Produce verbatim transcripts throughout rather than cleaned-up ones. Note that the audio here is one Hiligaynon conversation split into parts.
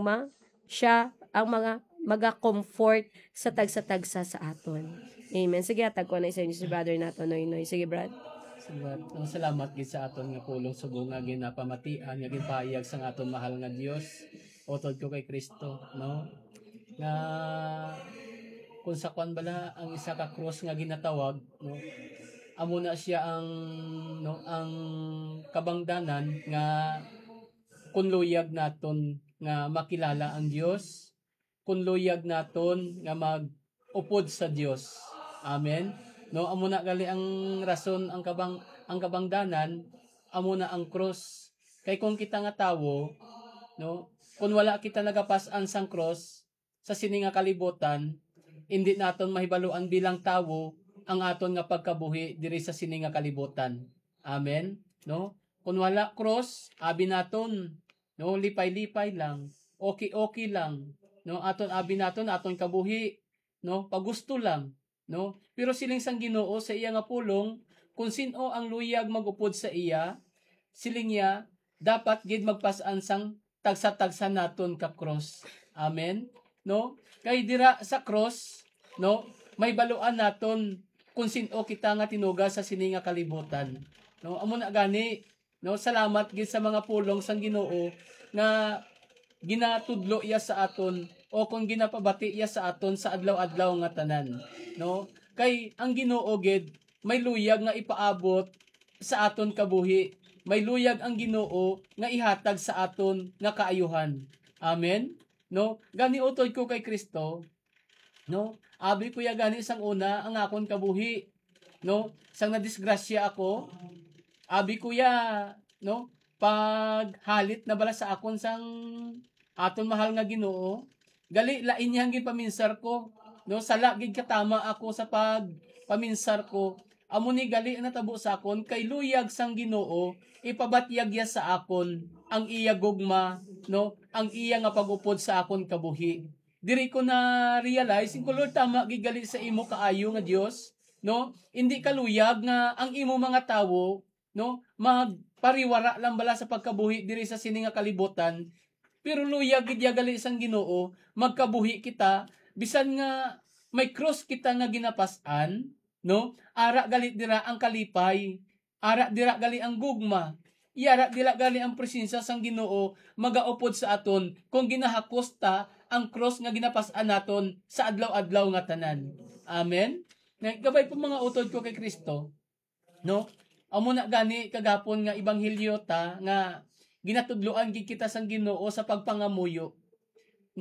ma, siya ang mga maga-comfort sa tagsa-tagsa sa aton. Amen. Sige, hatag ko na sa inyo si Brother nato, Noy Noy. Sige, Brad. Salamat. Ang salamat gid sa aton nga pulong subong nga ginapamatian, nga ginpahayag sang aton mahal nga Dios. Utod ko kay Kristo, no? Nga kung sa kwan bala ang isa ka krus nga ginatawag, no? Amo na siya ang, no, ang kabangdanan nga kung luyag naton nga makilala ang Dios, kung luyag naton nga mag-upod sa Dios. Amen. No, amo na gali ang rason, ang kabang-, ang kabangdanan, amo na ang krus. Kay kung kita nga tawo, no, kung wala kita nagapas-an sang krus sa sini nga kalibutan, indi naton mahibaluan bilang tawo ang aton nga pagkabuhi diri sa sini nga kalibutan. Amen. No? Kung wala krus, abi naton, no, lipay-lipay lang, okay-okay lang, no, aton abi naton, aton kabuhi, no, pagusto lang, no. Pero siling sang Ginoo sa iya nga pulong, kung sin-o ang luyag mag-upod sa iya, siling niya, dapat gid magpas-an sang tagsa-tagsa naton ka krus. Amen. No? Kay dira sa krus, no, mahibaluan naton kung sin-o kita nga tinuga sa sini nga kalibutan. No, amo na gani, no, salamat gid sa mga pulong sang Ginoo nga ginatudlo iya sa aton o kung ginapabati iya sa aton sa adlaw-adlaw nga tanan, no? Kay ang Ginoo gid may luyag nga ipaabot sa aton kabuhi, may luyag ang Ginoo nga ihatag sa aton nga kaayuhan. Amen. No? Gani utod ko kay Kristo, no? Abi ko ya gani sang una ang akon kabuhi, no? Sang nadisgrasya ako, abi ko ya, no? Paghalit na bala sa akon sang aton mahal nga Ginoo, gali lain niya ang ginpaminsar ko, no? Sala gid katama ako sa pagpaminsar ko. Amo ni gali ang natabo sa akon, kay luyag sang Ginoo ipabatyag ya sa akon ang iya gugma, no? Ang iya nga pag-upod sa akon kabuhi. Diri ko na-realize, ko, Lord, tama gid gali sa imo kaayo nga Dios, no? Indi ka luyag nga ang imo mga tawo, no, magpariwara lang bala sa pagkabuhi diri sa sini nga kalibutan, pero luyag gid ya gali sang Ginoo, magkabuhi kita bisan nga may krus kita nga ginapas-an, no? Ara gali dira ang kalipay, ara dira gali ang gugma, ara dira gali ang presensya sang Ginoo magaupod sa aton kung ginahakos ta ang krus nga ginapas-an naton sa adlaw-adlaw nga tanan. Amen. Nga, kabay pa, mga utod ko kay Kristo, no? Amo na gani kagapon nga ebanghelyo ta nga ginatudloan gid kita sang Ginoo sa pagpangamuyo,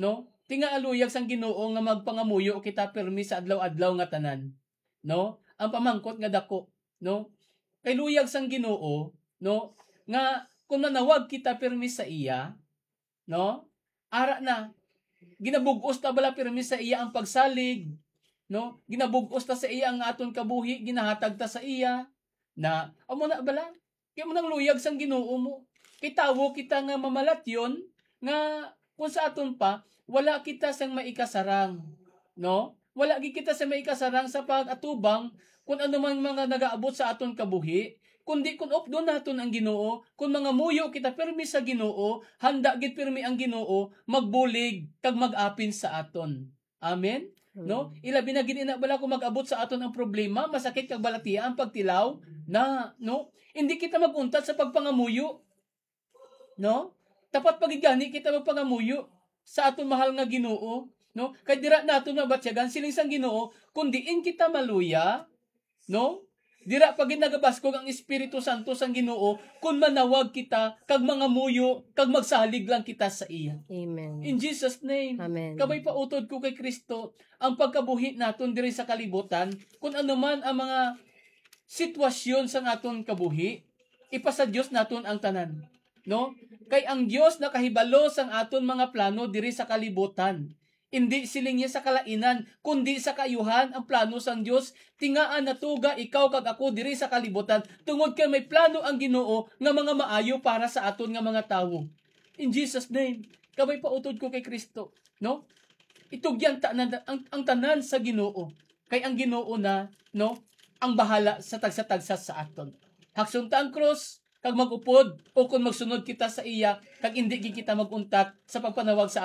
no? Tinga luyag sang Ginoo nga magpangamuyo kita pirmi sa adlaw-adlaw nga tanan, no? Ang pamangkot nga dako, no? Kay luyag sang Ginoo, no, nga kung nanawag kita pirmi sa iya, no? Ara na, ginabug-os ta bala pirmi sa iya ang pagsalig, no? Ginabug-os ta sa iya ang aton kabuhi, ginahatag ta sa iya. Na, amo na bala? Kay mo nang luyag sang Ginoo mo. Kay tawo kita nga mamalatyon nga kung sa aton pa, wala kita sang maikasarang, no? Wala gid kita sa maikasarang sa pag-atubang kung ano man mga nagaabot sa aton kabuhi, kundi kung updon naton ang Ginoo, kung mangamuyo kita pirmi sa Ginoo, handa gid pirmi ang Ginoo magbulig kag mag-apin sa aton. Amen? No? Amen. Ilabi na gid ina bala kung mag-abot sa aton ang problema, masakit kag balatiya ang pagtilaw na, no? Hindi kita mag-untat sa pagpangamuyo, no? Dapat pa gid gani kita magpangamuyo sa aton mahal nga Ginoo, no? Kay dira naton mabatyagan siling sang Ginoo, kung diin kita maluya, no? Dira pa gid nagabaskog ang Espiritu Santo sang Ginoo kung manawag kita kag mangamuyo kag magsalig lang kita sa iya. Amen. In Jesus' name. Amen. Kabay pa utod ko kay Kristo, ang pagkabuhi naton diri sa kalibutan, kung ano man ang mga sitwasyon sang aton kabuhi, ipasa Dios naton ang tanan, no? Kay ang Dios nakahibalo sang aton mga plano diri sa kalibutan. Indi siling niya sa kalainan, kundi sa kaayuhan ang plano sang Dios. Tingaa natuga ikaw kag ako diri sa kalibutan, tungod kay may plano ang Ginoo nga mga maayo para sa aton nga mga tawo. In Jesus' name, kabay pa utod ko kay Kristo, no? Itugyan ta na ang, ang tanan sa Ginoo, kay ang Ginoo na, no, ang bahala sa tagsa-tagsa sa aton. Hakson ta ang krus, kag mag-upod, o kon magsunod kita sa iya, kag indi gid kita mag-untat sa pagpanawag sa